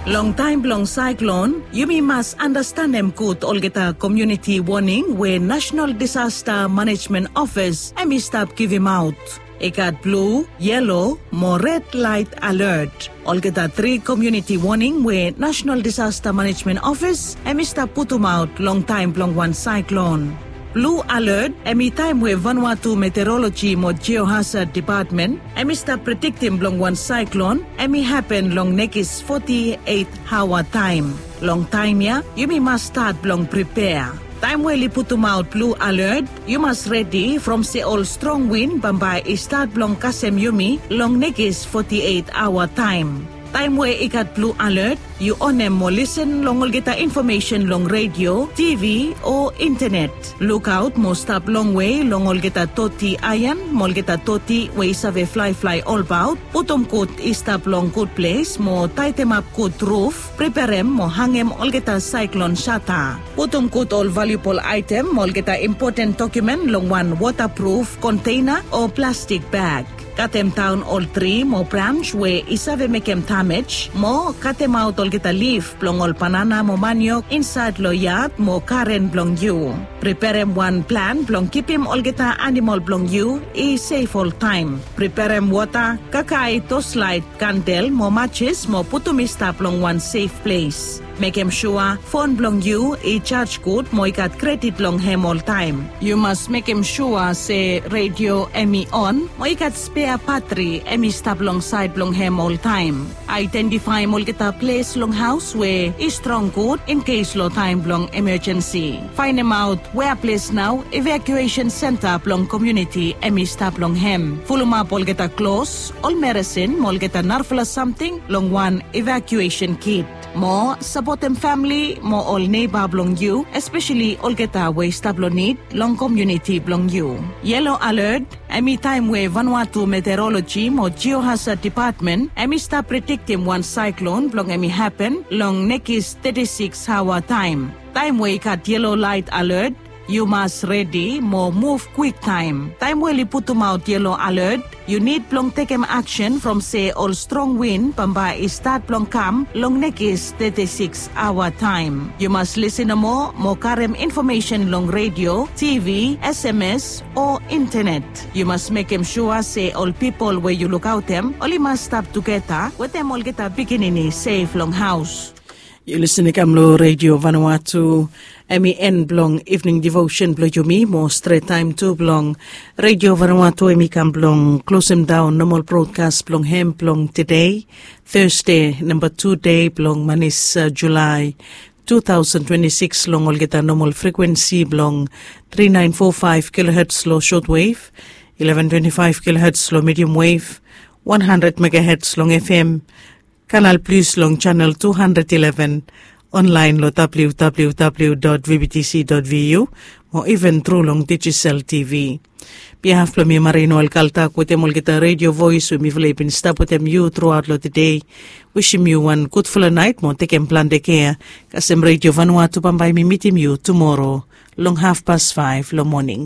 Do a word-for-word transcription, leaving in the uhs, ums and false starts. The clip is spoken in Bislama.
Long taem blong saeklon, yumi mas anastanem gud olgeta komuniti woning we National Disaster Management Office hem i stap givimaot. I gat blu, yelo mo red laet alert. Olgeta tri komuniti woning we National Disaster Management Office hem i stap putumaot long taem blong wan saeklon. Blu alert hem i taem we Vanuatu Meteoroloji mo Geohazard Depatmen hem i stap prediktim blong wan saeklon hem i hapen long nekis foti eit aoa taem. Long taem ya yumi mas stat blong pripea. Taem we oli putumaot blu alert, yu mas redi from se ol strong win bambae i stat blong kasem yumi long nekis foti eit aoa taem. Taem we i gat blu alert, yu onem mo lisen long olgeta infomesen long redio, tivi o intenet. Lukaot mo stap longwe long olgeta toti aean mo olgeta toti we i save flaeflae olbaot. Putum gud i stap long gud ples mo taetemap gud ruf. Preperem mo hangem olgeta saeklon sata. Putum gud ol valiubol aetem mo olgeta impoten dokiumen long wan wotapruf konteina o plastik bag. Katemdaon ol tri mo brans we i save mekem damej mo katemaot olgeta lif blong ol banana mo maniok insaed long yad mo garen blong yu. Preperem wan plan blong kipim olgeta anamol blong yu i sef oltaem. Preperem wota, kakae, toslaet, kandel mo majis mo putum i stap long wan sef ples. Mekem sua fon blong yu i jaj gud mo i gat kredit long hem oltaem. Yu mas mekem sua se redio hem i on mo i gat spea batri hem i stap long saed blong hem oltaem. Aedentifaem olgeta ples long haos we i strong gud inkes long taem blong emejensi. Faenemaot wea ples nao evakuesen senta blong komuniti hem i stap long hem. Fulumap olgeta klos, ol meresin mo olgeta narafala samting long wan evakuesen kit. Mo sapotem famili mo ol neiba blong yu, espeseli olgeta we i stap long nid long komuniti blong yu. Yelo alert hem i taem we Vanuatu Meteoroloji mo Geohazard Depatmen hem i stap prediktim wan saeklon blong hem i hapen long nekis teti sikis aoa taem. Taem we i gat yelo laet alert, yu mas redi mo muv kwiktaem. Taem we oli putumaot yelo alert, yu nid blong tekem aksen from se ol strong win bambae i stat blong kam long nekis teti sikis aoa taem. Yu mas lisen nomo mo karem infomesen long redio, tivi, sms o intenet. Yu mas mekem sua se ol pipol we yu lukaotem oli mas stap tugeta wetem olgeta pikinini sef long haos. Yu lisin i kam long Redio Vanuatu. Hem i en blong evening devotion blong yumi mo stret taem tu blong Redio Vanuatu hem i kam blong klosem daon nomal brodkas blong hem blong tede, Thursday namba tu dei blong manis, Julai two thousand twenty-six long olgeta nomal frekuensi blong three nine four five kilohertz long shortwave, eleven twenty-five kilohertz long medium wave, one hundred megahertz long F M, Kanal Plus long channel two hundred eleven, online long www dot vbtc dot vu, mo even tru long digital T V. Behalf blong mi Marie Noel Kaltak wetem olgeta Radio Voice we mifala i bin stap wetem yu truaot long tede, wisim yu wan gudfala naet mo tekem plante kea. Kasem Radio Vanuatu bambae mi mitim yu tumoro long hafpas faef long moning.